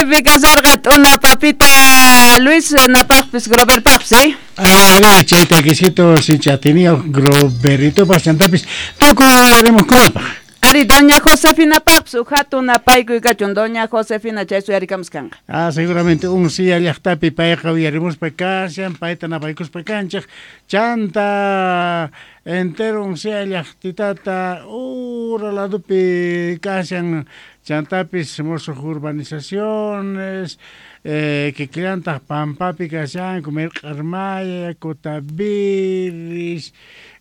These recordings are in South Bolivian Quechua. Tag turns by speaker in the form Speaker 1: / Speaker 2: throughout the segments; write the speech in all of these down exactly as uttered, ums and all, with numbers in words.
Speaker 1: Kasarqa t'una papita Luis napaqpis Groverpaqpis, eh?
Speaker 2: Ah, chay takisito sincha atiniyoq Groveritopas chantapis tukuy uyarimuqkunapaq.
Speaker 1: Ari, doña Josefina paqpis uj hatun napaykuy kachun, doña Josefina chay suyarikamus kanqa.
Speaker 2: Ah, seguramente Uncia llaqtapi payqa uyarimuspa kashan, payta napaykuspa kanchik, chanta entero Uncia llaqtitata ura ladupi kashan, chantapis musuq urbanizaciones, eh, kikillantaq pampapi kashanku, Mirq'armaya, Cotaviris,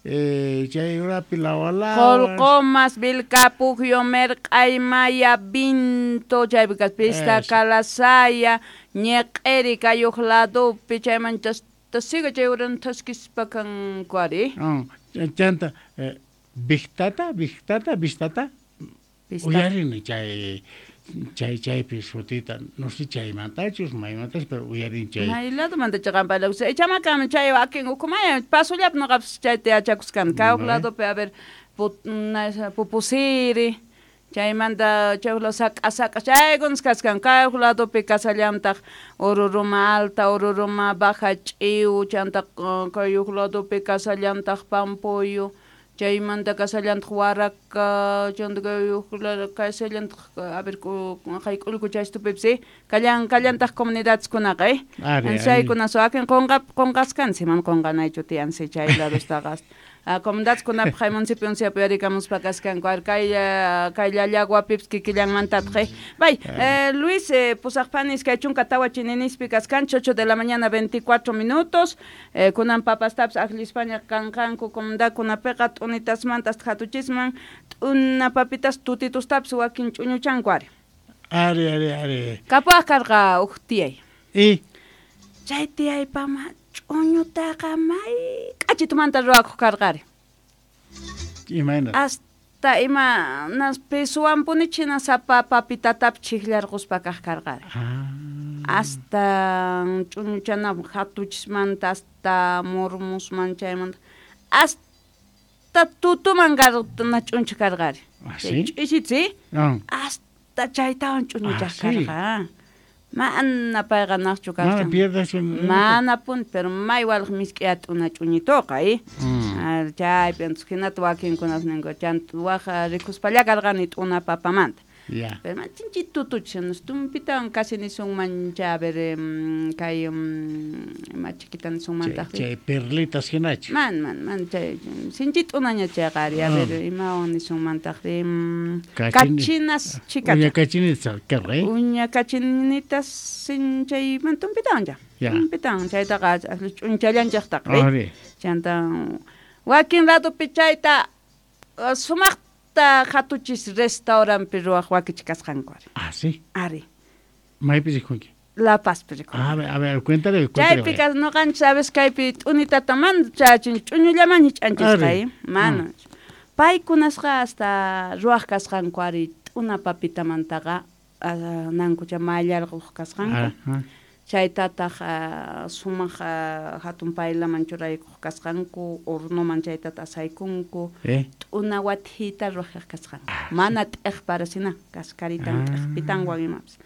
Speaker 2: eh, chay urapi Lawalawas.
Speaker 1: Qolqomas, Vilcapugio, Merq'aymaya, Vinto, chaypi kas Pista Calasaya, Ñeq'eri kayuq ladupi, chaymanta siga chay uran thaskispa kanku ari.
Speaker 2: Oh, chanta eh, Victata, Victata, Vistata, uyarini chay chay chaypi sutita, no sé chaymantachus, maymantachus, pero uyarin chay.
Speaker 1: May ladomanta chaqan parlakusqa, ichamakam chay wakin ukhumaya pasullapi noqapis chayta yachakusqani, kay huk ladopi a ver Pupusiri, chaymanta chay huk lado sak'a sak'a chaykunas kaskan, kay huk ladopi kasallantaq Ururuma alta, Ururuma baja ch'iw, chanta kay huk ladopi kasallantaq Pampuyu, chaymanta kasallantaq Waraka, chanta kay huk lado kasallantaq a ver kay k'ullku chaystupipis, eh, kallan kallantaq comunidadeskunaqa, eh. Chaykunas wakin qunqa qunqaskansi, mana qunqanaychu tiyansi chay ladostaqa. Comunidadeskunapaq kay municipio Unciapi uyarikamuspa kaskanku, ar kay kay Llallaguapipis kikillanmantataq, eh. Bay, Luis, pusaq pani iskay chunka tawa chininispi kaskanchik, ocho de la mañana veinticuatro minutos, kunan papastapis akllispaña kanqanku comunidadkunapiqa t'unitasmanta hasta hatuchisman, t'una papitas tutitustapis wakin ch'uñuchanku ari.
Speaker 2: Ari, ari, ari.
Speaker 1: Kapuwaq karqa uj tiyay.
Speaker 2: Y?
Speaker 1: Chay tiyaypama ch'uñutaqa may k'achitumanta ruwakuq karqari.
Speaker 2: Imayna?
Speaker 1: Hasta ima nas pesowanpunichik hina sapa papitatapis chhiqllarquspa kaq karqari.
Speaker 2: Ah.
Speaker 1: Hasta ch'uñuchanapaq hatuchismanta hasta murmusman chaymanta hasta tutuman na ch'unchik karqari.
Speaker 2: Ah, sí?
Speaker 1: Ch'isitsi?
Speaker 2: Ah.
Speaker 1: Hasta chaytawan ch'uñuchaq
Speaker 2: Ah, sí.
Speaker 1: karqa. Mana payqa naqchu
Speaker 2: Mana
Speaker 1: kashan.
Speaker 2: pierdas un
Speaker 1: Mana puni, pero may walaq misk'i at'una ch'uñituqa, eh.
Speaker 2: Mm.
Speaker 1: Chaypi entonces hinata wakinkunas ninku, chanta waj rikuspalla karqani t'una papamanta.
Speaker 2: Ya.
Speaker 1: Pero man chinchi tutuch, tumpitawan casi nisunman cha, a ver, kay ima chiquita nisunmantaq.
Speaker 2: Chay, chay perlitas hinachu.
Speaker 1: Man, man, man, chay sinchi t'unaña chayqa ari, a ver, imawan nisunmantaq, kachinas chikata.
Speaker 2: Uña kachinitas karqa, eh?
Speaker 1: Uña kachinitas sin chay man tumpitawan ya. Tumpitawan chaytaqa ch'unchallanchaqtaqa, eh?
Speaker 2: Ari.
Speaker 1: Chanta wakin ladopi chayta sumaq hatuchis restauranpi ruwaq wakichi kasqanku ari.
Speaker 2: Ah, sí.
Speaker 1: Ari.
Speaker 2: Maypi rikunki?
Speaker 1: La Pazpi rikunki.
Speaker 2: A ver, a ver, cuéntale, cuéntale.
Speaker 1: Chaypi kas noqanchik sabes kaypi t'unitata mana chachin ch'uñullaman hich'anchisqa, eh? Mana. Paykunasqa hasta ruwaq kasqanku ari t'una papitamantaqa nankucha mallarquq kasqanku. Chaytataq sumaq hatun paylaman churaykuq kasqanku, hornoman chaytata asaykunku, t'una wathita ruwaq kasqanku. Mana t'iqparasina, kaskaritan t'iqpitanwan imapis.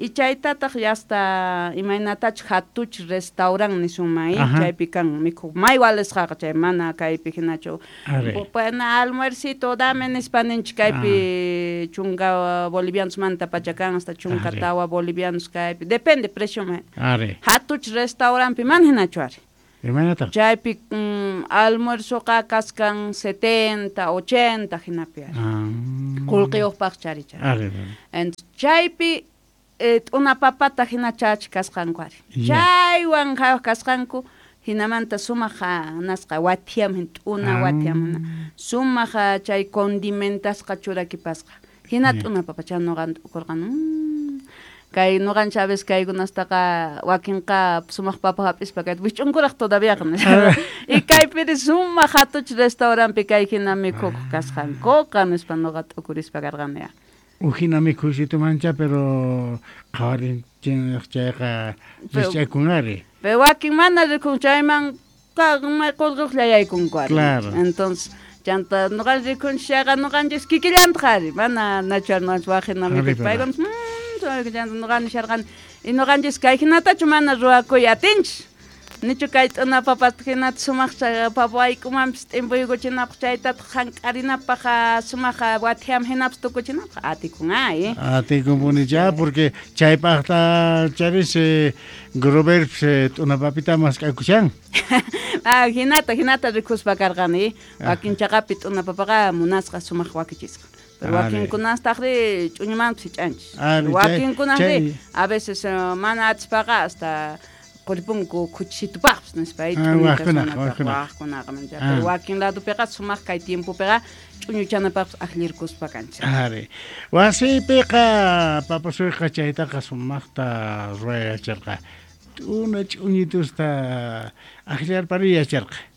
Speaker 1: Y chaytataq ya hasta imaynatachus hatuch restaurant nisunman, eh, chaypi kan mikhuq may walisqaqa chay mana kaypi hinachu. Bueno, almuercito dame nispa ninchik kaypi chunka bolivianosmanta pacha kan hasta chunka tawa bolivianos kaypi, depende precio man. Hatuch restaurantpi mana hinachu ari.
Speaker 2: Imaynataq?
Speaker 1: Chaypi almuerzoqa kaskan setenta, ochenta hinapi ari. Qullqiyuqpaq chari chay. Entonces chaypi t'una papata hina chachi kasqanku ari. Chaywan haywaq kasqanku hinamanta sumaq nasqa wathiam t'una wathiam sumaq chay condimentasqa churakipasqa. Hina t'una papacha noqan t'ukurqan. Kay noqan Chávez kaykunastaqa wakinqa sumaq papa hap'ispa kayta wich'unkuraq todavía. Y kaypiri sumaq hatuch restauranpi kay hina mikhukuq kasqankuqa nispa noqa t'ukurispa karqani.
Speaker 2: Ujina mikhuysitu mancha, pero qhawarinchik chayqa rikch'akun ari.
Speaker 1: Pero wakin mana rikun chayman may qullqiyuqlla yaykunku ari.
Speaker 2: Claro.
Speaker 1: Entonces chanta noqanchik rikunchik chayqa noqanchis kikillantaq ari, mana nachu ari noqanchis waq hina mikhuq. Paykunas Noqa nisharqani y noqanchis kay hinatachu mana ruwakuy atinchis. Nichu kay t'una papata hinata sumaq papa wayk'umanpis t'impuykuchinapaq chaytataq hank'arinapaq sumaq wathiam hinapis tukuchinapaq atikun ay.
Speaker 2: Atikunpunicha porque chaypaqta charis Grover t'una papita mask'akushan.
Speaker 1: Ah, hinata hinata rikuspa karqani wakin chaqapi t'una papaqa munasqa sumaq wakichisqa. Pero wakinkunastaqri ch'uñumanpis hich'anchis. Wakinkunaqri a veces mana atispaqa hasta quripunku khuchisitupaqpis nispa waqkunaqa mancha. Pero wakin ladopiqa sumaq kay tiempopiqa ch'uñuchanapaqpis akllirkuspa kanchis.
Speaker 2: Ari. Wasiypiqa papasuyqa chaytaqa sumaqta ruwayacharqa. T'una ch'uñitusta akllarpari yacharqa.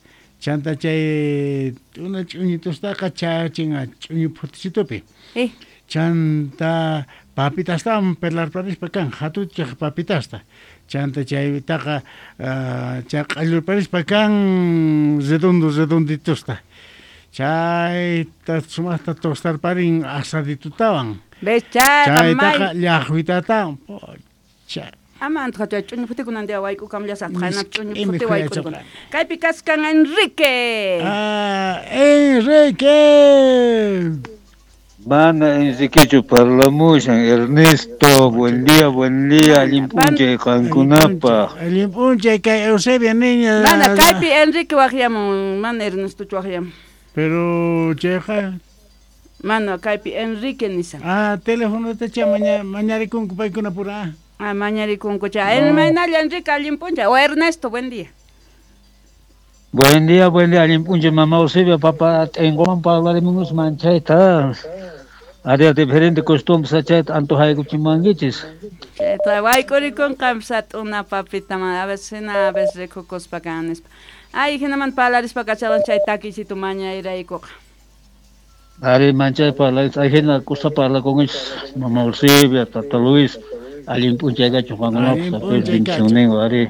Speaker 2: Chanta chay t'una ch'uñitustaqa chachin ch'uñu phuticitupi.
Speaker 1: Eh.
Speaker 2: Chanta papitastawan pelarparispa kan hatuchaq papitasta. Chanta chaytaqa chay q'allurparispa kan redondo redonditusta. Chayta sumaqta tostarparin asaditutawan. Chaytaqa llaqwitatawan. Pocha.
Speaker 1: Ama antoja chay ch'uñu phutikunan día wayk'ukamllasaq qaynap ch'uñu phuti wayk'urikuna. Kaypi kaskan Enrique.
Speaker 2: Ah, Enrique.
Speaker 3: Mana Enriquechu parlamushan Ernesto, buen día, buen día, allin p'unchay qankunapaq.
Speaker 2: Allin p'unchay kay Eusebia niña.
Speaker 1: Mana kaypi Enrique waqyamun, mana Ernestochu waqyamun.
Speaker 2: Pero chayqa
Speaker 1: mana kaypi Enrique nisan.
Speaker 2: Ah, telefonota cha maña mañarikunku paykuna pura.
Speaker 1: Ah, mañarikunku cha. El maynalla Enrique allin p'unchay o Ernesto, buen día.
Speaker 3: Buen día, buen día, allin p'unchay mamá Eusebia, papá t'inquman parlarimunus manchayta. Área diferente costumbres chayta antojaykuchimankichis.
Speaker 1: Chayta wayk'urikunqanpis t'una papita a veces hina a veces rikukuspa kan nispa. Ay, hinaman parlarispa kacharqan chay takisitu mañayraykuqa.
Speaker 3: Ari manchay parlaris, ay hina kusa parlakunkichis mamá Eusebia, tata Luis, allin p'unchay kachun qankunapaq bendicionnin ari.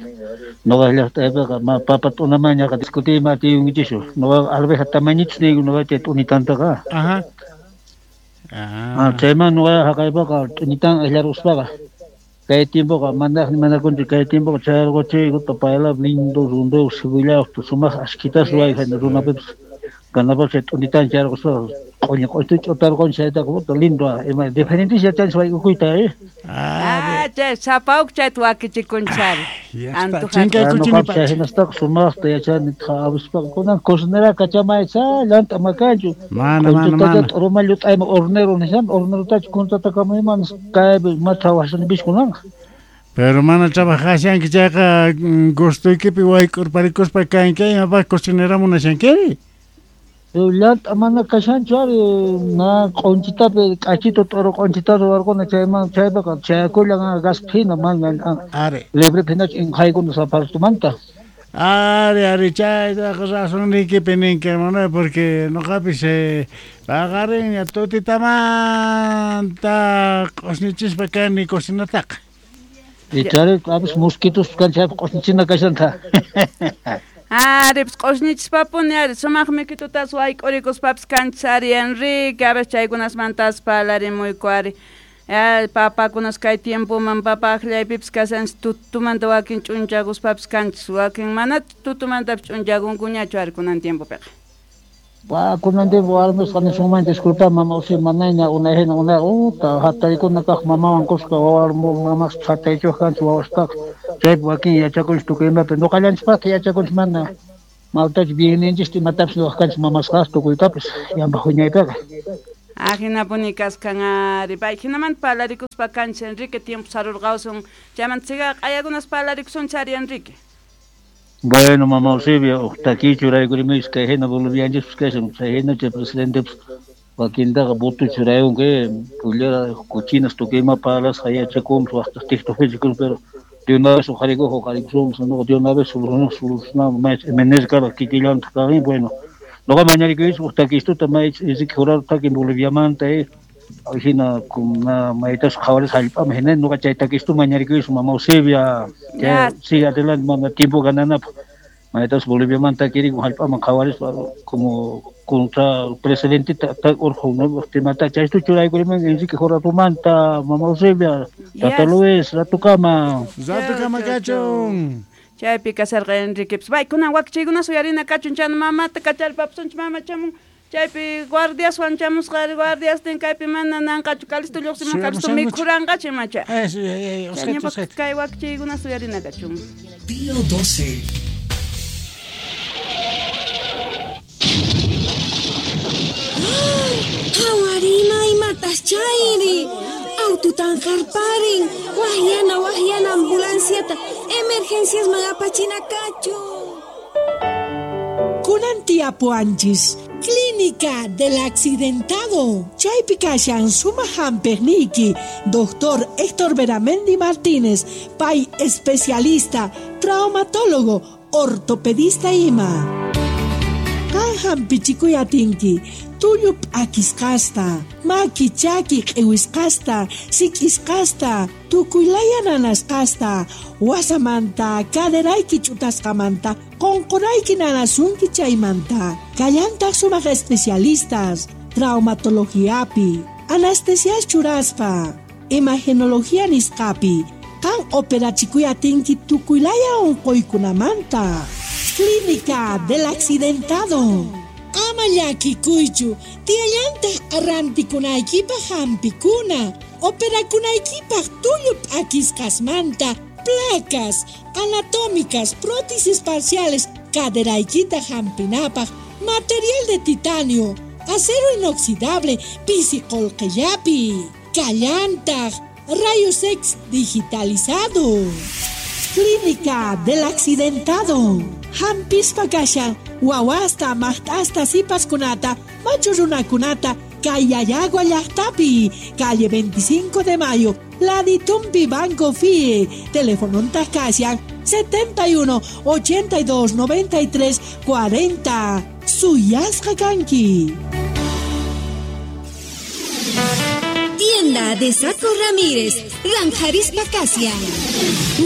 Speaker 3: Noqa llaqtaypiqa ma papa t'unamañaqa discutiyma atiyunkichischu. Noqa alveja tamañichus niyku noqa chay t'unitantaqa.
Speaker 2: Ajá.
Speaker 3: Ah, chayman noqa haqaypaqa t'unitan akllaruspaqa kay tiempoqa mandaqni manakunchu kay tiempoqa chayarquchiykuta payla lindo rundeo cebollawta sumaq ashkitas ruwayqa runapipis kanapaq chay t'unitan chayarquspaqa q'uñi q'uñi ch'utarqun chaytaqa puta lindo ima diferentes yachanchis wayk'ukuyta eh.
Speaker 1: Ah, chay sapawk chayta wakichikunchari.
Speaker 2: Chinkaykuchinipacha.
Speaker 3: Hinastaqa sumaqta yachani awispaqa kunan cocinera kachamaycha llant'a makanchu.
Speaker 2: Mana mana mana.
Speaker 3: T'uruma llut'ayma hornero nishan hornerotachu contratakamuyman kaypi ma trabajashani pis kunanqa.
Speaker 2: Pero mana trabajashanki chayqa gustuykipi wayk'urparikuspa kanki imapaq cocinera munashankiri.
Speaker 3: Llant'a mana kashanchu ari na q'unchitapi k'achito t'uru q'unchita ruwarquna chayman chaypaqa chayakullan gaspi hina mana
Speaker 2: ari
Speaker 3: libre hinachu inqaykuna sapartumanta.
Speaker 2: Ari ari chaytaqa razonniykipi ninki hermano porque noqapis paqarinña tutitamanta q'usñichispa kani cocinataqa.
Speaker 3: Ichari apis mosquitos kan chaypi q'usñichina kashanta.
Speaker 1: Ari, pues q'usñichispapuni ari sumaq mikitutas wayk'urikuspapis kanchis ari Enrique, a veces chaykunasmantas parlarimuyku ari. Papakunas kay tiempoman papa akllaypipis kashanchis tutumanta wakin ch'unchakuspapis kanchis wakin mana tutumantapis ch'unchakunkuñachu ari kunan tiempopiqa.
Speaker 3: Wa kunan tiempo warmisqa nisunman disculpa mama usi manayña unay hina unay uta hatarikuna kaq mamawan kuska wawa mamas hataychuq kanchis wawastaqa chaypi wakin yachakunchis tukuy imapi ñuqallanchispaqta yachakunchis mana maltachu bienninchista imatapis nuqaq kanchis mamasqas tukuytapis llampaq wiñaypiqa.
Speaker 1: Ajinapuni kaskan ari pay hinamanta parlarikuspa kanchis Enrique tiempo sarurqawsun chaymanta siga q'ayakunas parlarikusunchis ari Enrique.
Speaker 3: Bueno, mamá Eusebia, uqtakichu raykurimichis kay hina bolivianchispas kashan chay hina chay presidentepis wakintaqa votochu rayunki pullera cochinas tukuy ima parlasqa yachakunpis waqtaq TikTokpichu pero de una vez uqharikuq uqharikusunpis nuqa de una vez solucionamos may M N S karqa kikillantaq kaqin bueno nuqa mañarikuychis uqtakistuta may Enrique Jurado takin Boliviamanta eh hina kuna maytas qhawaris hallp'aman hina nuqa chay takistu mañarikuychis mamá Eusebia sigue adelante mana tiempo gananapaq Maytas Boliviamanta kirikun hallp'aman qhawarispa como contra el presidente urqu temata chaystu churaykuriman Enrique Joratumanta Mama Eusebia Tata Luis ratukama
Speaker 2: ratukama kachun
Speaker 1: chaypi kasarqa Enrique pay kunan wakchaykuna suyarina kachun chan mamata kacharpapusunchik mama chamun chaypi guardiaswan chamusqa guardiastin kaypi mana nanqachu Calisto lluqsimun Calisto mikhuranqachu imacha kay wakchaykuna suyarina kachun.
Speaker 4: Pío doce.
Speaker 5: Hawarina imatas chayri aututan harparin wahyana wahyana ambulanciata emergencias magapachina kachu.
Speaker 6: Kunan tiapuanchis Clínica del Accidentado. Chaypi kashan suma hamperniki, doctor Héctor Beramendi Martínez, pay especialista, traumatólogo, ortopedista ima. Kan hampichikuy atinki, tullu p'akisqasta, maki chaki q'iwisqasta, sik'isqasta, tukuylaya nanasqasta, wasamanta, caderayki ch'utasqamanta, qunqurayki nanasunki chaymanta. Kallantaq sumaq especialistas, traumatologiapi, anestesias churaspa, imagenología nisqapi, kan operachikuy atinki tukuylaya unquykunamanta. Clínica del Accidentado. Ama llakikuychu, tiyallantaq arrantikunaykipaq hampikuna, operakunaykipaq tullu p'akisqasmanta, placas anatómicas, prótesis parciales, caderaykita hampinapaq, material de titanio, acero inoxidable, pisi qolqillapi, kallantaq, rayos X digitalizado. Clínica del Accidentado. Hampispa kashan, wawasta, maqt'asta, sipaskunata, machu runakunata, Kayayagua llaqtapi, calle veinticinco de Mayo, Laditumpi Banco F I E, teléfono kashan setenta y uno, ochenta y dos, noventa y tres, cuarenta. Suyasqa kanki.
Speaker 5: Tienda de Saco Ramírez, Ranjarispa Kasian.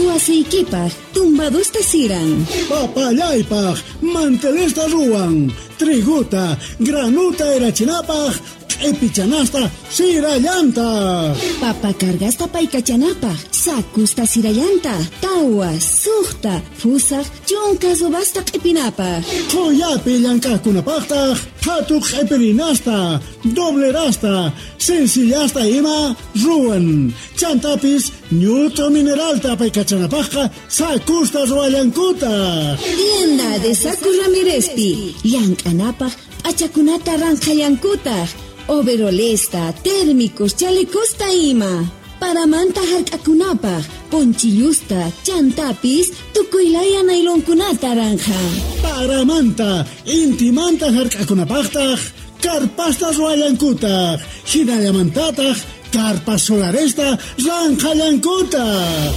Speaker 5: Wasiykipaq, tumbadusta siran.
Speaker 7: Papallaypaq, mantelesta ruwan. Triguta, granuta erachinapaq, q'ipichanasta sirallanta.
Speaker 5: Papa cargasta paykachanapaq, sakusta sirallanta, tawa, suqta, fusaq, chunka subasta q'ipinapaq.
Speaker 7: Qullapi llank'aqkunapaqtaq, phatu q'ipirinasta, doblerasta, sencillasta ima ruwan. Chantapis ñut'u mineralta paykachanapaqqa sakusta ruwallankutaq.
Speaker 5: Tienda de Saco Ramírezpi, llank'anapaq p'achakunata ranqhallankutaq. Overolesta, térmicos, chalecosta ima. Paramanta hark'akunapaq, ponchillusta, chantapis, tukuylaya nailonkunata ranja.
Speaker 7: Paramanta, intimanta hark'akunapaqtaq, karpasta ruwallankutaq, hinallamantataq, karpas solaresta ranqhallankutaq.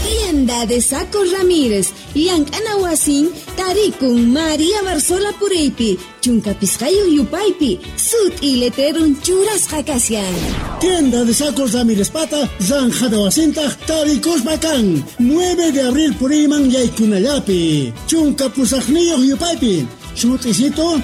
Speaker 5: Tienda de Saco Ramírez, llank'ana wasin, tarikun María Barzola Pureypi, chunka pisqayuq yupaypi, sut'i letrerun churasqa kashan.
Speaker 7: Tienda de Sacos Ramírez pata, ranjada wasintaq, tarikuspa kan, nueve de abril puriyman yaykunallapi, chunka pusaqniyuq yupaypi, sut'isito,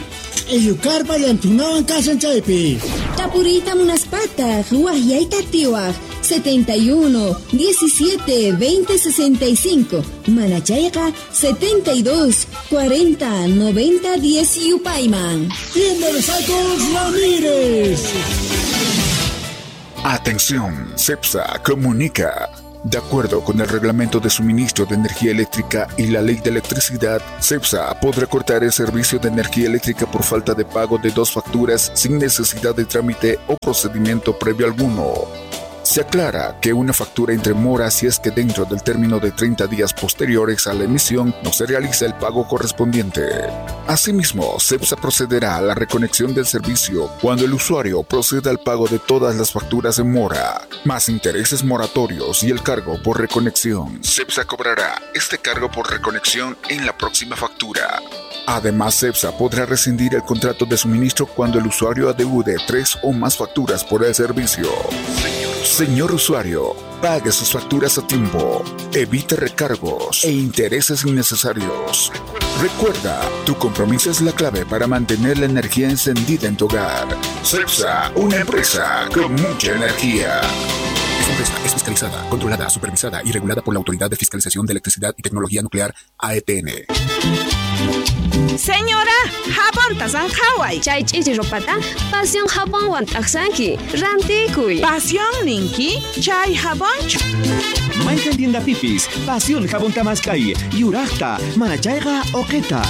Speaker 7: q'illukarpa llantunawan kashan chaypi.
Speaker 5: Tapuriyta munaspataq, wahyayta tiwaq, setenta y uno, diecisiete, veinte, sesenta y cinco. Manachayqa, setenta y dos, cuarenta, noventa, diez yupayman.
Speaker 7: Tienda de Sacos Ramírez.
Speaker 8: Atención, CEPSA comunica. De acuerdo con el Reglamento de Suministro de Energía Eléctrica y la Ley de Electricidad, CEPSA podrá cortar el servicio de energía eléctrica por falta de pago de dos facturas sin necesidad de trámite o procedimiento previo alguno. Se aclara que una factura entre mora si es que dentro del término de treinta días posteriores a la emisión no se realiza el pago correspondiente. Asimismo, CEPSA procederá a la reconexión del servicio cuando el usuario proceda al pago de todas las facturas en mora, más intereses moratorios y el cargo por reconexión. CEPSA cobrará este cargo por reconexión en la próxima factura. Además, CEPSA podrá rescindir el contrato de suministro cuando el usuario adeude tres o más facturas por el servicio. Señor Señor usuario, pague sus facturas a tiempo, evite recargos e intereses innecesarios. Recuerda, tu compromiso es la clave para mantener la energía encendida en tu hogar. CEPSA, una empresa con mucha energía. Esta empresa es fiscalizada, controlada, supervisada y regulada por la Autoridad de Fiscalización de Electricidad y Tecnología Nuclear, A E T N.
Speaker 4: Señora, jabonta zanjaway.
Speaker 9: Chay ch'ichi ropata, pasión jabonwan t'aqsanki, rantikuy.
Speaker 4: Pasión ninki, chay jabonchu.
Speaker 10: Mayqan tienda pipis, pasión jabón tamaskay, yuraqta, manachayqa oqeta.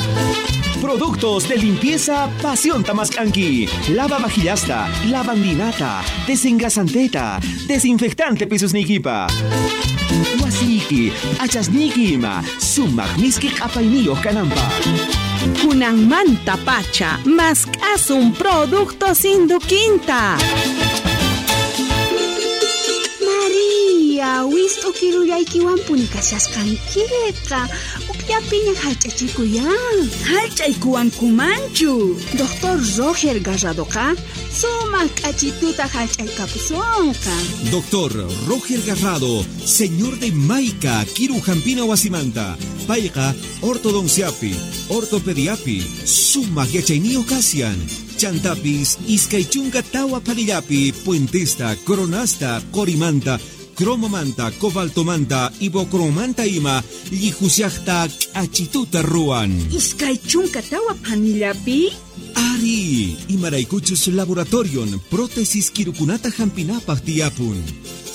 Speaker 10: Productos de limpieza Pasión Tamascanqui. Lava vajillasta, lavandinata, desengrasanteta, desinfectante pisusnikipa. Wasiki, achasniki ima, sumaq miski q'apayniyuq kananpaq.
Speaker 4: Kunanmanta pacha, mask'asun productos Induquinta.
Speaker 11: María, wist'u kirullaykiwanpuni kashasqankiqa. Ukllapiña hallch'achikuyan.
Speaker 4: Hallch'aykuwankumanchu.
Speaker 11: Doctor Roger Garradoqa sumaq k'achituta hallch'aykapusunqa.
Speaker 10: Doctor Roger Garrado, señor de Maica, Kiru Jampina Wasimanta. Payqa ortodonciapi, ortopediapi, sumaq yachayniyuq kasian. Chantapis, iskay chunka tawa panillapi, puentesta, coronasta, corimanta, cromomanta, cobaltomanta, ibocromanta ima, llijusiaqta k'achituta ruwan.
Speaker 4: Iskay chunka tawa panillapi?
Speaker 10: Ari, imaraykuchus laboratorion, prótesis kirukunata hampinapaq tiyapun.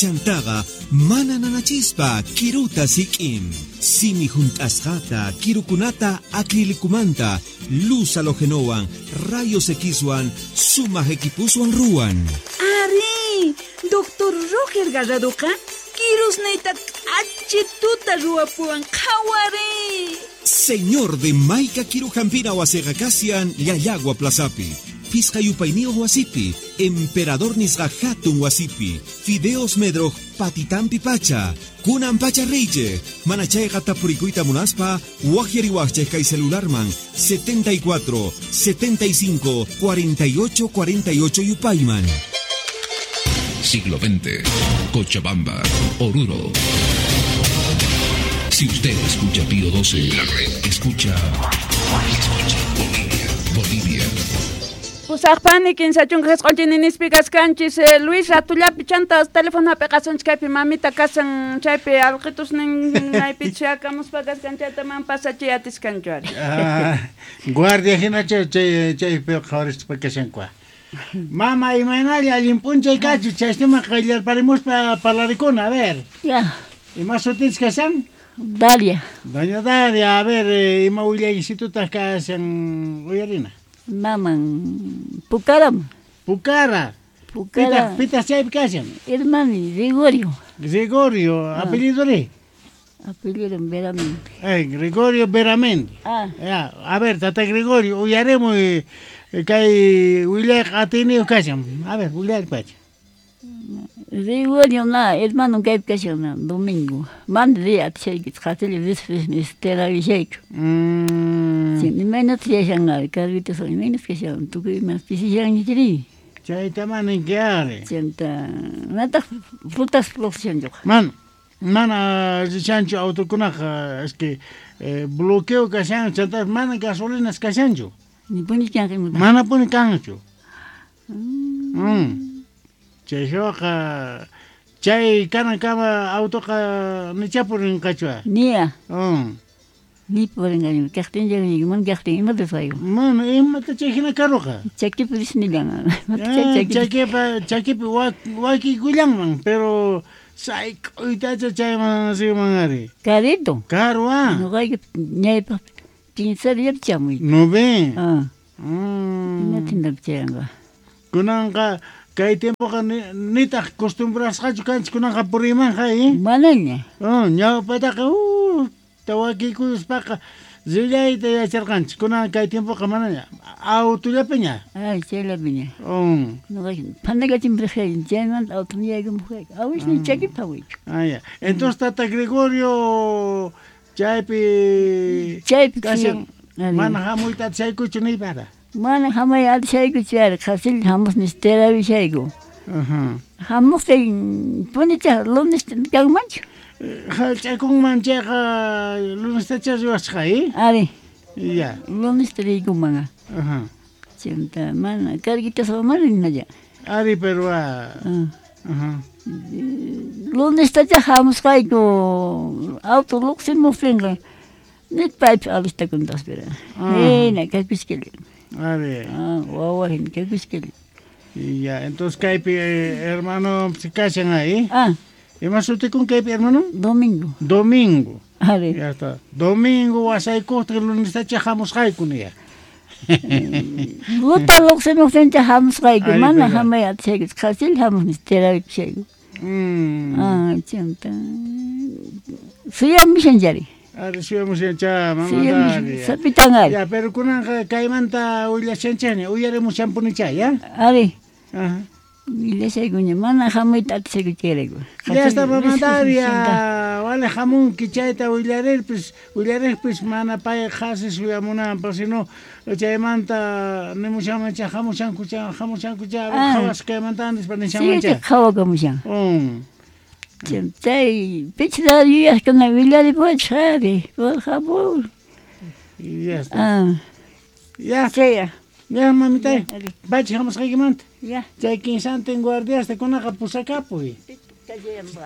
Speaker 10: Chantaqa, mana nanachispa, kiruta sik'in. Simi junt'asqata, kirukunata acrilicumanta, luz halogenowan, rayos Xwan, sumaq equipuswan ruwan.
Speaker 4: Ari, Doctor Roger Garradoqa, kirusniyta k'achituta ruwapuwan qhawari.
Speaker 10: Señor de Maica Kirujampina wasiqa kasian Llallagua Plazapi. Pisqa yupayniyuq wasipi, Emperador nisqa hatun wasipi, Fideos Medroj patitampi pacha, kunan pacha reyche, manachayqa tapurikuyta munaspa, waqyariwaqchej kay celularman setenta y cuatro, setenta y cinco, cuarenta y ocho, cuarenta y ocho yupayman.
Speaker 12: Siglo veinte, Cochabamba, Oruro. Si usted escucha Pío doce, la red escucha, escucha Bolivia, Bolivia.
Speaker 1: Pusaqpani kinsa chunka qisqunchininispi kaskanchis Luis ratullapi chanta teléfono apiqasunchik kaypi mamita kasan chaypi alqitusnin maypi chakamuspa kaskan chayta man pasachiy atiskanchu ari.
Speaker 2: Ah, guardia hina chay chay chaypi qhawarispa kashankua. Mama, imaynalla allin p'unchay kachu chaystiman qayllarparimuspa parlarikuna, a ver.
Speaker 13: Ya.
Speaker 2: Ima sutinchik kashan?
Speaker 13: Dalia.
Speaker 2: Doña Dalia, a ver, ima willaysitutaq kashan uyarina.
Speaker 13: Maman, Pucara.
Speaker 2: Pucara.
Speaker 13: Pucara.
Speaker 2: Pitaq, pitaq chaypi kashan?
Speaker 13: Hermani, Gregorio.
Speaker 2: Gregorio,
Speaker 13: ah.
Speaker 2: Apellido ri?
Speaker 13: Apellido Veramendi.
Speaker 2: Eh, Gregorio Veramendi.
Speaker 13: Ah.
Speaker 2: Ya, a ver, tata Gregorio, uyarimuy kay willayqa atiyniyuq kashan. A ver, willaypacha.
Speaker 13: Gregorio na, hermano kaypi kashan na, domingo. Mana riy atishaykichu, qatilla rispa terabishayku.
Speaker 2: Mm.
Speaker 13: Imaynata yashanqa, carritos imaynata kashan, tukuy ima pisishanña ri.
Speaker 2: Chayta mana ninki ari.
Speaker 13: Chanta, manataq frutas produccionchuqa.
Speaker 2: Mana, mana rishanchu autokunaqa, es que eh, bloqueo kashan, chanta mana gasolinas kashanchu.
Speaker 13: Nipuni kanqa imata.
Speaker 2: Mana puni kanchu. Mm. Mm. Chayqa chay kanankama autoqa nichapurinqachua.
Speaker 13: Nia.
Speaker 2: Mm.
Speaker 13: Ni purinqañu, kaqtin llaqñayku, mana kaqtin imata ruwayku.
Speaker 2: Mana imata chay hina karuqa.
Speaker 13: Chakipi risnillan.
Speaker 2: Chakipa chakipi wakikullanman, pero sayk'uytacha chayman riman ari.
Speaker 13: Carrito.
Speaker 2: Karu ah.
Speaker 13: Ñuqayku ñaypaq kinsa diapi chamuy.
Speaker 2: No ve.
Speaker 13: Ah.
Speaker 2: Mm.
Speaker 13: Imatintapi chayanqa.
Speaker 2: Kunanqa kay tiempoqa nitaq costumbrasqachu kanchik kunanqa purimanqa, eh?
Speaker 13: Manaña.
Speaker 2: Oh, ñawpataqa uh, tawakikuyuspaqa rillayta yacharqanchik. Kunan kay tiempoqa manaña. Autollapiña.
Speaker 13: Ay, chayllapiña.
Speaker 2: Oh.
Speaker 13: Ñuqayku phanakachinpi riqayku, chaymanta automi yaykamuqayku. Awisni chakipi phawayku.
Speaker 2: Ah, ya. Entonces tata Gregorio chaypi
Speaker 13: chaypi
Speaker 2: kashan mana hamuyta atishaykuchu niypara.
Speaker 13: Mana hamay atishaykuchu ari, qhasilla hamusnis terabishayku.
Speaker 2: Ajá.
Speaker 13: Hamuqtin punicha lunes kanmanchu.
Speaker 2: Hallch'akunman chayqa lunestacha riwasqa, eh?
Speaker 13: Ari.
Speaker 2: Ya.
Speaker 13: Lunesta riykunman.
Speaker 2: Ajá.
Speaker 13: Chanta mana carguitasqa mana rinalla.
Speaker 2: Ari, pero ah. Ajá.
Speaker 13: Lunestacha hamusqayku auto lluqsimuqtinqa nit paypi alistakuntas pero. Hina kakushkalla.
Speaker 2: Ari.
Speaker 13: Ah, wawa hina kakushkalla.
Speaker 2: Ya, entonces kaypi hermano se kashan ahí.
Speaker 13: Ah.
Speaker 2: Ima sutikun kaypi hermano?
Speaker 13: Domingo.
Speaker 2: Domingo.
Speaker 13: Ari.
Speaker 2: Ya está. Domingo wasaykuqta lunestacha hamusqayku niya.
Speaker 13: Luta lluqsimuqtincha hamusqayku mana hamay atishayku qhasil hamuqnis terakushayku.
Speaker 2: Mm.
Speaker 13: Ah, chanta. Suyamushan chari.
Speaker 2: Ari suyamushan cha, mamá dari.
Speaker 13: Sapitan ari.
Speaker 2: Ya, pero kunanqa kaymanta willashanchani, uyarimushanpunicha, ya?
Speaker 13: Ari.
Speaker 2: Ajá.
Speaker 13: Willashaykuña mana hamuyta atishayku chayrayku.
Speaker 2: Ya está mamá Daria, vale hamunki chayta willarirpis, willarirpis mana pay qhasi suyamunanpaq, sino chaymanta nimushanman cha hamushanku cha, hamushanku cha, qhawas kaymanta nispa nishanman cha.
Speaker 13: Sí, qhawakamushan.
Speaker 2: Mm.
Speaker 13: Chay pichda yuyaqkuna willaripuwachis ari, por favor.
Speaker 2: Ya está.
Speaker 13: Ah.
Speaker 2: Ya.
Speaker 13: Chaya.
Speaker 2: Ya, mamita. Pachi hamusqaykimanta.
Speaker 13: Ya.
Speaker 2: Chay kinsantin guardiasta kunaqa pusakapuy.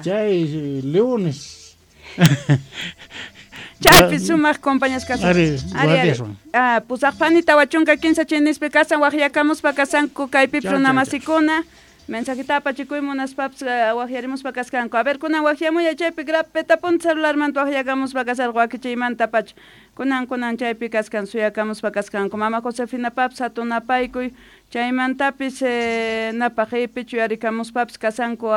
Speaker 2: Chay leones.
Speaker 1: Chaypi sumaq compañías kasan.
Speaker 2: Ari, guardiaswan.
Speaker 1: Ah, pusaqpani tawa chunka kinsa chinispi kasan waqyakamuspa kasanku kaypi runamasikuna. Mensajita apachikuy munaspapas waqyarimuspa kasqanku. A ver, kunan waqyamuya chaypi grapeta punta celularmanta waqyakamuspa kasarqa wakichiymanta pacha. Kunan kunan chaypi kasqan suyakamuspa kasqanku. Mama Josefina papas hatunapaykuy chaymantapis eh, napaq ipichu yarikamuspapis kasanku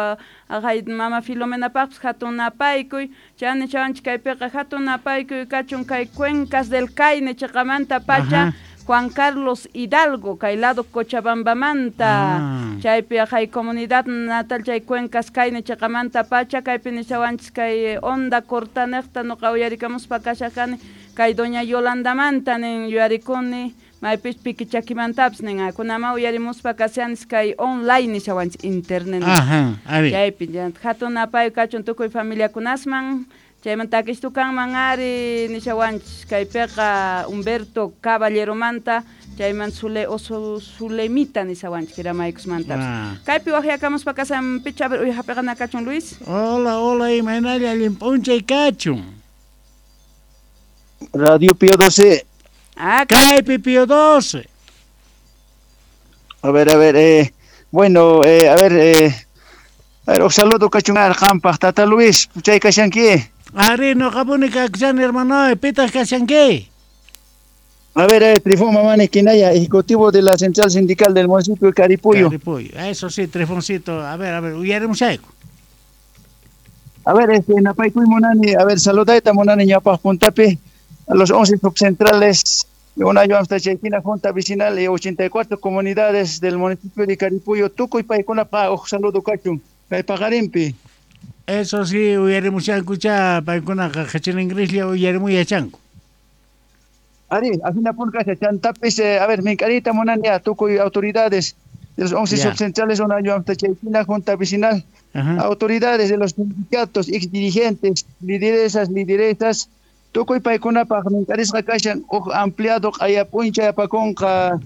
Speaker 1: aqay mama Filomena papas hatunapaykuy chani chawanchik kaypiqa hatunapaykuy kachun kay Cuencas del Caine chiqamanta pacha.
Speaker 2: Ajá.
Speaker 1: Juan Carlos Hidalgo, kay lado Cochabambamanta,
Speaker 2: ah.
Speaker 1: Chaypi aqay comunidad natal chay Cuencas Caine chiqamanta pacha, kaypi nishawanchis kay onda cortanejta nuqa uyarikamuspa kashaqani, kay doña Yolandamanta nin yuyarikuni, maypis pikichakimantapis nin, kunama uyarimuspa kashanis kay online nishawanchis internet.
Speaker 2: Ajá, ari.
Speaker 1: Chaypi hatun apayu kachun tukuy familiakunasman. Chaymanta akishtukanman ari nishawanchis kaypiqa Humberto Caballeromanta chayman Zule oso Zulemita nishawanchis kiramaykusmantapis.
Speaker 2: Ah.
Speaker 1: Kaypi waqyakamuspa kasan picha a ver uyhapiqana kachun Luis.
Speaker 2: Hola, hola, imaynalla allin p'unchay kachun.
Speaker 14: Radio Pío doce.
Speaker 1: Ah,
Speaker 2: kaypi Pío doce.
Speaker 14: A ver, a ver, eh, bueno, eh, a ver, eh, a ver, un saludo kachun qampaq tata Luis, chay kashanki.
Speaker 2: Ari, noqapuni kakushan hermano, pitaq kashanki.
Speaker 14: A ver, eh, Trifón Mamani Quinaya, ejecutivo de la Central Sindical del municipio de Caripuyo.
Speaker 2: Caripuyo, eso sí, Trifoncito, a ver, a ver, uyarimushayku.
Speaker 14: A ver, este, napaykuy munani, a ver, saludayta munani ñawpaq puntapi, a los once subcentrales de Unayo Amstachaykina, Junta Vecinal y ochenta y cuatro comunidades del municipio de Caripuyo, tukuy paykunapa uj saludo kachun, kay paqarinpi.
Speaker 2: Eso sí, uyarimushankucha, paykunaqa qhichir uyarimu yachanku.
Speaker 14: Ari, afina pulka chantapis, eh, a ver, mink'arita munani a tukuy autoridades de los once
Speaker 2: Ya.
Speaker 14: subcentrales Unayo Amstachaykina, Junta Vecinal,
Speaker 2: Ajá.
Speaker 14: autoridades de los sindicatos, ex dirigentes, lideresas, lideresas, tukuy paykunapaq mink'arisqa kashan uj ampliado q'ayapuncha apakunqa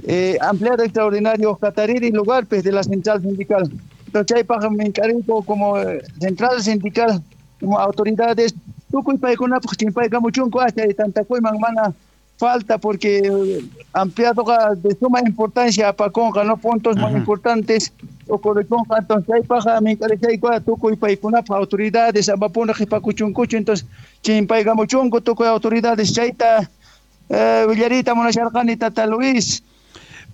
Speaker 14: eh, ampliado extraordinario Catariri lugarpis de la central sindical. Entonces chaypaq mink'arinku como eh, central sindical, como autoridades, tukuy paykunapaq chimpaykamuchunku chay tantakuyman mana falta porque eh, ampliadoqa de suma importancia apakunqa, no puntos muy importantes ocurrikunqa, entonces chaypaq mink'arishayku tukuy paykunapaq autoridades amapuna qhipakuchunkuchu, entonces chimpaykamuchunku tukuy autoridades chayta eh, willarita munasharqani tata Luis.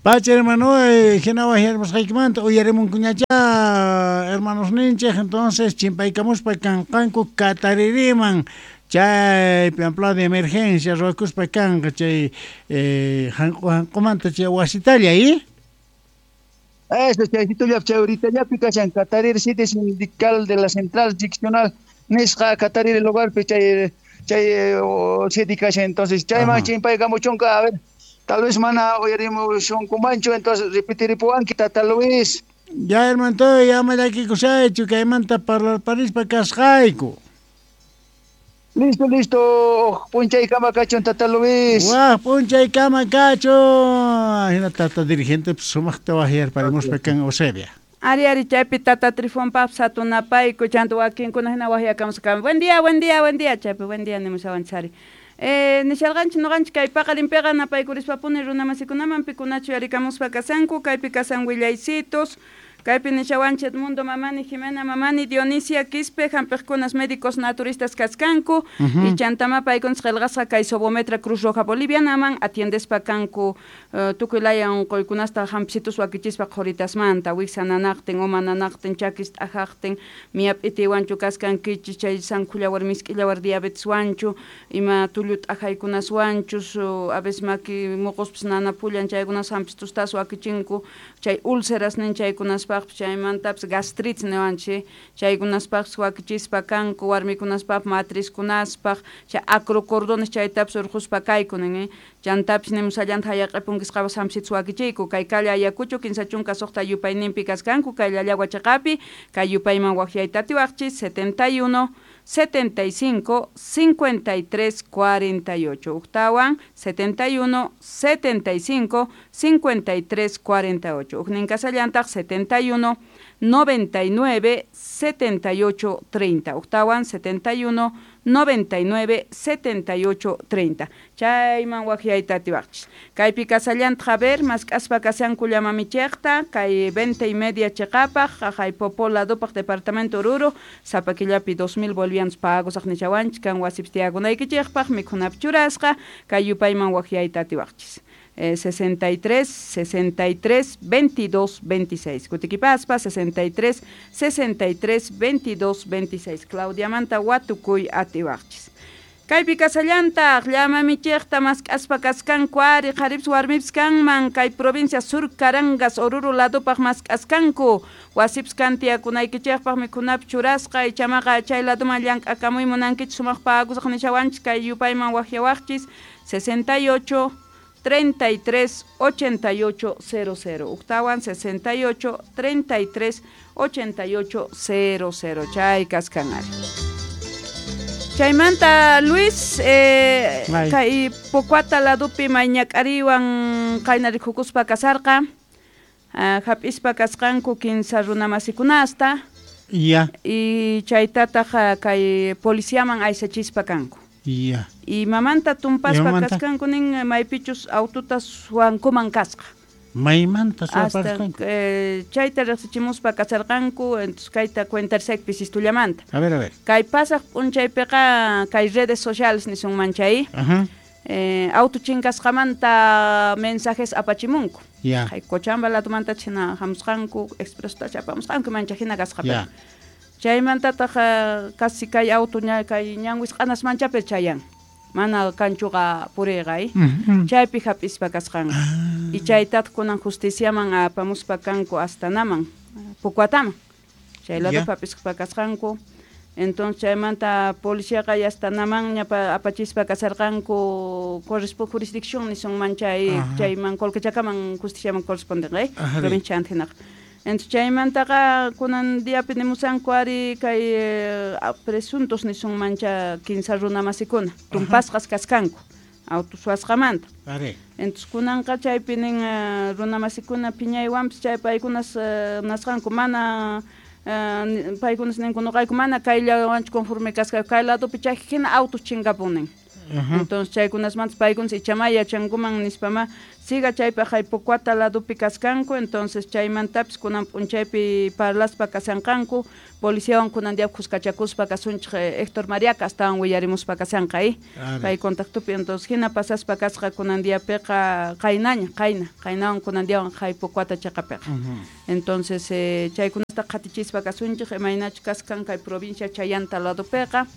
Speaker 2: Pacha hermano, eh, hina waqyarimusqaykimanta uyarimunkuñacha hermanos ninchik, entonces chimpaykamuspa kanqanku Kataririman chaypi ampliado de emergencia ruwakuspa kanqa chay eh, hanqu hanqumanta chay wasitalla, ¿eh?
Speaker 14: Eso, chaycito chay ahorita kashan Catariri sede sindical de la central seccional nisqa Catariri lugarpi chay chay sede kashan, entonces chayman chimpaykamuchunka, a ver, tal vez mana uyarimushunkumanchu, entonces repetiripuwanki tata Luis.
Speaker 2: Ya hermano, ya ama llakikusaychu kaymanta parlarparispa kasqayku.
Speaker 14: Listo, listo. P'unchaykama kachun, Tata Luis.
Speaker 2: Waj, p'unchaykama kachun. Hina tata dirigente sumaqta wajyarparimuspa kan Eusebia.
Speaker 1: Ari, ari, chaypi tata Trifonpap satunapayku, chanta wakinkuna hina wajyakamusqa. Buen día, buen día, buen día, chaypi, buen día nimushawanchari. Eh, nisharqanchik nuqanchik kay paqarinpiqa napaykurispa-puni runamasikunaman pikunachu yarikamuspa kasanku, kaypi kasan willaycitos, kaypi nishawanchik Edmundo Mamani, Jimena Mamani, Dionisia Quispe, hampiqkunas médicos naturistas kaskanku,
Speaker 2: Uh-huh.
Speaker 1: y chantama paykunas qillqasqa kay Sobometra Cruz Roja Bolivianaman atiendespa kanku uh, tukuy laya unquykunasta hampisitus wakichispa qhuritasmanta, wiksa nanaqtin, uma nanaqtin, chakis t'ajaqtin, miyap'itiwanchu kaskankichis, chay sankhulawar misk'illawar diabeteswanchu, ima tullu t'ajaykunaswanchu, su, a veces maki muquspis nanapullan chaykunas hampistustas wakichinku, chay úlceras nin chaykunaspaqpis, chaymantapis gastritis niwanchik, chaykunaspaqpis wakichispa kanku, warmikunaspaq matrizkunaspaq, chay acrocordones chaytapis urquspa kayku nin, eh? Chantapis nimusallanta hayaq'ipunkisqapas hampisitus wakichiyku, kay Calle Ayacucho kinsa chunka suqta yupayninpi kaskanku, kay Llallagua chiqapi, kay yupayman waqyayta atiwaqchis setenta y uno, setenta y cinco, cincuenta y tres, cuarenta y ocho. Uktawan setenta y uno, setenta y cinco, cincuenta y tres, cuarenta y ocho. Uknin kasallantaq setenta y uno, noventa y nueve, setenta y ocho, treinta. Uktawan setenta y uno, noventa y nueve, setenta y ocho, treinta. Chayman waqyayta atiwaqchis. Kaypi kasallantaq a ver, mask'aspa kasanku llamamichiyqta, kay veinte y media chiqapaq, jaqay Popó ladupaq departamento Oruro, sapa killapi dos mil bolivianos pagosaq nichawanchik, kan wasipis tiyakunaykichikpaq, mikhunapi churasqa, kay yupayman waqyayta atiwaqchis. Eh, sesenta y tres, sesenta y tres, veintidós, veintiséis. Kutikipaspa, sesenta y tres, sesenta y tres, veintidós, veintiséis. Claudia Manta watukuy atiwaqchis. Kaypi kasallantaq llamamichiyqta mask'aspa kaskanku ari qharipis warmipis kanman kay provincia Sur Carangas Oruro ladupaq mask'askanku wasipis kan tiyakunaykichikpaq mikhunapi churasqa ichamaqa chay laduman llank'akamuy munankichik sumaq pagusaq nishawanchik kay yupayman waqyawaqchis sesenta y ocho, treinta y tres, ochenta y ocho, cero cero. Uktawan sesenta y ocho, treinta y tres, ochenta y ocho, cero cero. Chay kaskan ari. Chaymanta Luis, eh, kay Pocuata ladupi mayñak'ariwan qaynarikukuspa kasarqa, uh, hap'ispa kasqanku kinsa runamasikunasta.
Speaker 2: Ya.
Speaker 1: Y chaytataq kay policiaman aysachispa kanku.
Speaker 2: Ya.
Speaker 1: Y mamanta tumpaspa kasqanku nin maypichus aututa suwankuman kasqa.
Speaker 2: Maymanta
Speaker 1: Hasta
Speaker 2: suwaparqanku.
Speaker 1: eh, chayta riqsichimuspa kasarqanku, entonces kayta cuentarsak pisistullamanta.
Speaker 2: A ver, a ver.
Speaker 1: Kay pasaq p'unchaypiqa kay redes sociales nisunman chay.
Speaker 2: Ajá.
Speaker 1: Eh, auto chinkasqamanta mensajes apachimunku.
Speaker 2: Ya.
Speaker 1: Kay Cochabamba ladumanta china hamusqanku, expresuta apamusqanku mancha hina kasqa.
Speaker 2: Ya.
Speaker 1: Chaymantataq casi kay auto ña kay ñanwisq'anas manchapi chayan. Mana kanchuqa puriyqa, eh?
Speaker 2: Mm-hmm.
Speaker 1: Chaypi hap'ispa kasqanku.
Speaker 2: Ah.
Speaker 1: Y chaytataq kunan justiciaman apamuspa kanku Astanaman, Pucuataman. Chay ladopi hap'ispa kasqanku. Entonces chaymanta policiaqa Astanaman ña apachispa kasarqanku corresponde jurisdicción nisunman chay chayman Colquechakaman justiciaman correspondenqa, eh? Provincia Antinaqa. Entonces chaymantaqa kunan diapi nimusanku ari kay eh, presuntos nisunman cha kinsa runamasikuna tumpasqas kaskanku auto suwasqamanta. Entonces kunanqa chaypi nin uh, runamasikuna phiñaywanpis chay paykunas uh, nasqanku mana uh, paykunas ninku nuqayku mana kayllawanchu conforme kasqayku kay ladopi chay hina autos chinkapunin. Entonces chaykunasmantas paykunas ichamá yachankuman nispama siga chaypaq hay Pocuata ladopi kaskanku. Entonces chaymantapis kunan p'unchaypi parlaspa kasanqanku policiawan kunan día khuskachakuspa kasunchik Héctor Mariaca astawan willarimuspa kasanqa, eh? Pay contactopi. Entonces hina pasaspa kasqa kunan diapiqa qaynaña qayna qaynawan kunan diawan hay Pocuata chiqapiqa. Entonces eh, chaykunasta qhatichispa kasunchik imaynachu kaskan kay provincia Chayanta ladopiqa.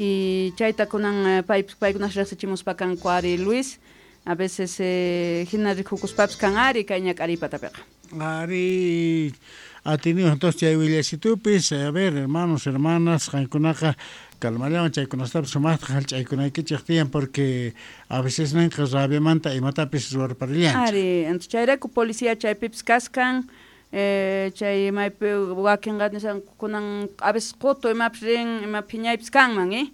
Speaker 1: Y chayta kunan pay paykunas riqsichimuspa kanku ari Luis, a veces eh, hina rikukuspapis kan ari kay ñak'aripatapiqa.
Speaker 2: Ari atinido entonces chay willasitupis, a ver hermanos, hermanas, qankunaqa calmallawan chaykunastapis sumaqta hallch'aykunaykichik tiyan porque a veces ninqa rabiamanta imatapis ruwarparillanchik.
Speaker 1: Ari, entonces chayrayku policía chaypipis kaskan. Eh, chay maypi wakinqa nishanku kunan a veces qutu imapis rin ima phiñaypis kanman eh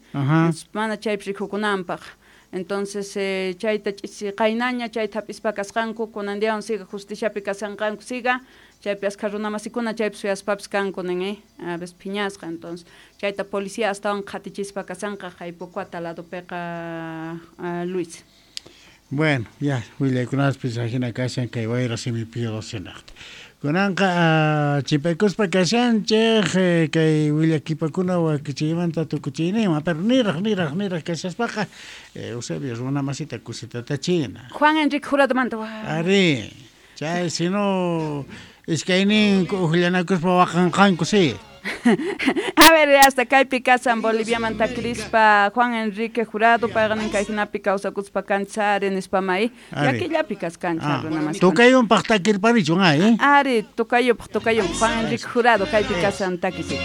Speaker 1: mana chaypis rikukunanpaq. Entonces eh, chayta ch'isi qaynaña chayta hap'ispa kasqanku kunan diawan siga justiciapi kasanqanku siga chaypi askha runamasikuna chaypi suyaspapis kanku nin eh a veces phiñasqa. Entonces chayta policía astawan qhatichispa kasanqa Jaipocuata ladopiqa uh, Luis.
Speaker 2: Bueno, ya willaykunaspis ajina kashan kay wayra simi piyusinaqta. Kunanqa chipaykuspa kashanchej kay willakipakuna wakichiymanta tukuchiyninman, pero niraj niraj niraj kashaspaqa Eusebio runa masita kusitata china.
Speaker 1: Juan Enrique Juradomanta.
Speaker 2: Ari, chay sino iskaynin ujllanakuspa waqanqanku sí.
Speaker 1: A ver, hasta kaypi kasan Boliviamanta Crispa Juan Enrique Jurado payqanin kayhinapi kawsakuspa kanchari nispa may llakillapi kaskancha runa masita.
Speaker 2: Tukayunpaq takirparichun ay.
Speaker 1: Ari, tukayupaq tukayunpaq Juan Enrique Jurado kaypi kasan takisik.